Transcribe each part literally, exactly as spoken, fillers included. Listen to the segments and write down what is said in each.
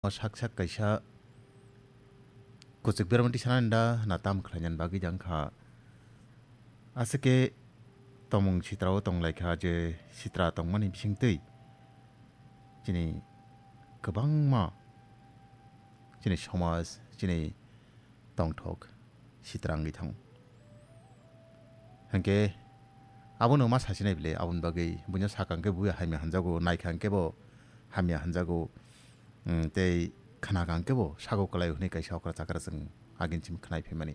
O sak sak kaisa kwchwk berma tisanani da na tam khlainani bagwi da wngkha. Aswk khe tongmung sitra o tonglaikha je sitra tongmani bisingtwi chini kwbangma chini somaj, chini tongthok sitra wngwi thango. Hinkhe abono ma sasinai bile, aboni bagwi buino sakha hinkhe bo hamya hanjago, naikha hinkhe bo hamya hanjago, mm, tei khnakha hinkhe bo sago kwlaio hwnwi kaisa okra chakra chwng agini simi khnai phaimani.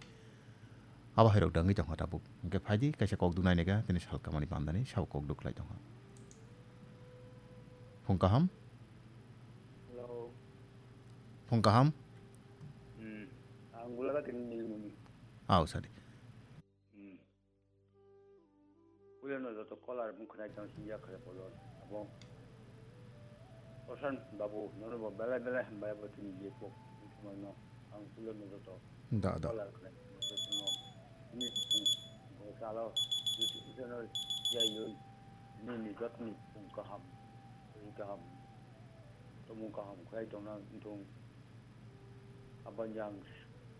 Abo hairok da wngwi tongkha tabuk. Hinkhe phaidi kaisa kok duk nainaiga, tini salkamani bandani sabo kok duk khlai tongkha. Phung kaham? Hello. Phung kaham? Hmm. Ang gulaga tini nini muni. Aw, sadi. Hmm. Puilano joto kolar mung khwnai tong sing ya khare polon. Abo Prasant babu, nono bo belai belai hambai abo tini je pok. Mano ang puilano joto Da, da. Kolar khwnai. Joto no. Ni, hmm, bo salo, joto, joto no, ya yun. Nini jotni phung kaham, ri kaham, tomung kaham khlai tongna wngthung. Aboni ang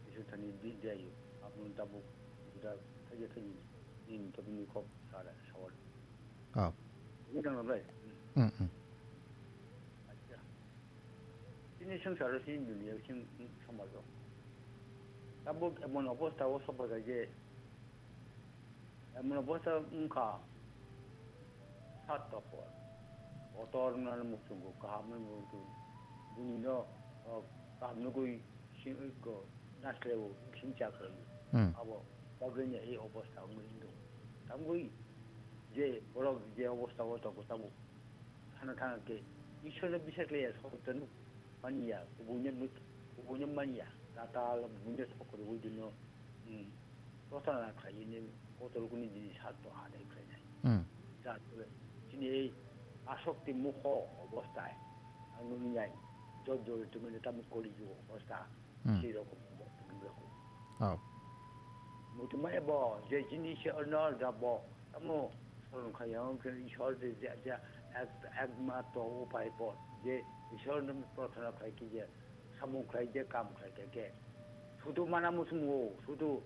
Iswr thani di diayu, aboni tabuk juda thaija thaiji nini tobini kok sara sawal. Ah. Ini tang bai. Hmm, hmm. Acha. Ini sengsaro sini dunia sini samajo. Tabuk emon obostha o sopaja je Emon obostha wngkha, sat topor. Kotor wngmani muchungo, kaham wngmani muchungo. Bunino, o, kaham nugui si-, ko, nasleo, singcha khlaiyo. Hmm. Abo, bagwini ei obostha wngwi wngkha. Tamgwi je borok je obostha o tongo, tabuk. Thana thana khe Ishwarno bisar khlaiya, soitanno maniya, kubunno nuk-, kubunno maniya, tatal kubunno sokorwi dino, hmm, prarthana khlaiwi ni kotor kuni jini satto adai khlainai. Hmm. Jatore chini ei asokti mukho obosthai, ang nuknai, jot jori tongmani tamo koli jugo obostha. Hmm. Sei rokom, rokom. Oh. Muchungmani bo, je jini se ono da bo, tamo soron kha yang ke Ishwar je, je, je ek, ekmatro upai bo, je Ishwar no prarthana khlai khe je, samung khlai je, kam khlai khe ke. Sudu mana muchungo, sudu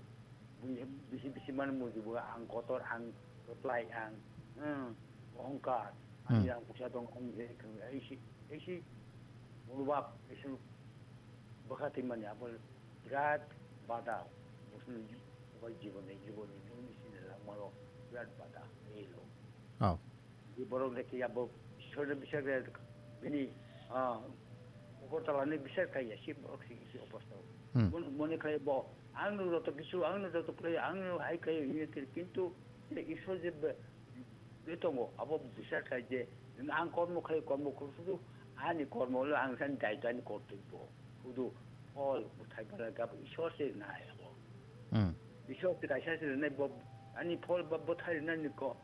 bisi, bisi mana muchungo, ang kotor, ang kotlai, ang, hmm, ohongkar, ani Hmm. ang pusa tong, ang je, ang isi, isi, murubak, isi, bwkha twi mani abo birat bada, bosong bai jiboni, jiboni nini sini langmaro birat bada, elo. Oh. Di borok le kiya bo Ishwar ni bisar de bini, ah, Agartala ni bisar kaiya si borok si, si obostha. Hmm. Mon-, mone khai bo, ang no joto kisu, ang no joto khlai, ang no hai khai, ini kir, kintu Ishwar je be, Twi tongo, abo bisar khlai je, ang kormo khlai, kormo khlai, sudu ani kormo le ang sani daitwani kortwi bo. Sudu phol bwthai bwla gabo Ishwar se nai abo. Hmm. Ishwar se kaisa se nai bo, ani phol ba bwthai nani ko,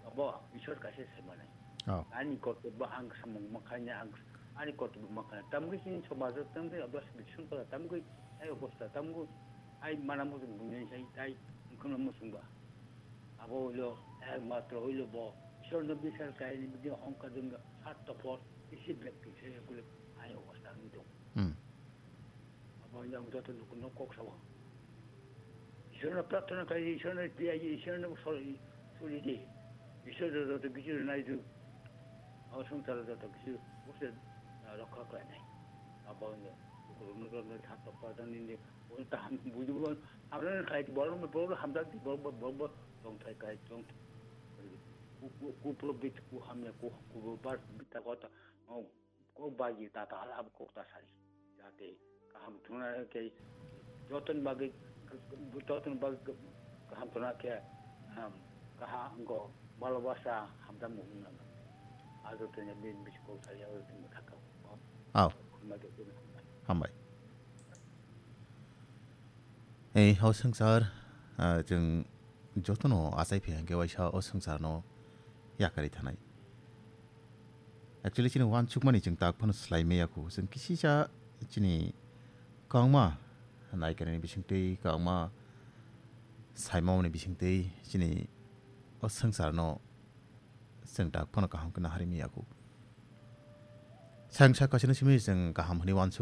abo Ishwar kaisa se manai. Oh. Ani kortwi bo ang samung makhanya, ang ani kortwi bo makhanya. Tamgwi sini somajo, tamgwi abo sini sungkala, tamgwi ai obostha, tamgwi ai mana muchung bunai sai, tai wngkhwna muchungba. Abo hwilo, ekmatro hwilo bo Ishwarno bisar khaini bini hongka dungya sat topor isi bek kisa yakule ai obostha wngwi tongo. Hmm. Abo hwilo ang joto lukuno kok sao. Ishwarno prarthana khai, Ishwarno tiyai, Ishwarno sori, sori di. Ishwarno joto kichu nai du. Abo songsaro joto kichu bose, ah, rokha khlainai. Abo hwilo lukurokno joto sat topor nini Bo kaham bujibo, hamya khlai borok, borok hamjak di, borok, borok, borok tongthai kai tong. Ku, ku, kuprobit, ku hamya, ku, ku bar bita kota, oh, kok baji ta ta hala kok ta sari. Jate kaham thuna ke jotoni bagwi, jotoni bagwi kaham thuna ke, um, kaham go, bhalobasa, hamjak muhung nang. Ajo tene bin bis kok sari, ajo tene thaka. Aw. Hambai. Hambai. Ei, o swngchar, ah, chwng jotono achai phi hwnkhe waisa o swngcharno yakarwi thanai. Actually, chini uansukmani chwng tak phano swlai maya kho. Chwng kisisa chini kwbangma naikanani bisingtwi, kwbangma saimani bisingtwi chini o swngcharno chwng tak phano kaham khe naharwi maya kho. Thangsa kaisano simi chwng kaham hwnwi uansuk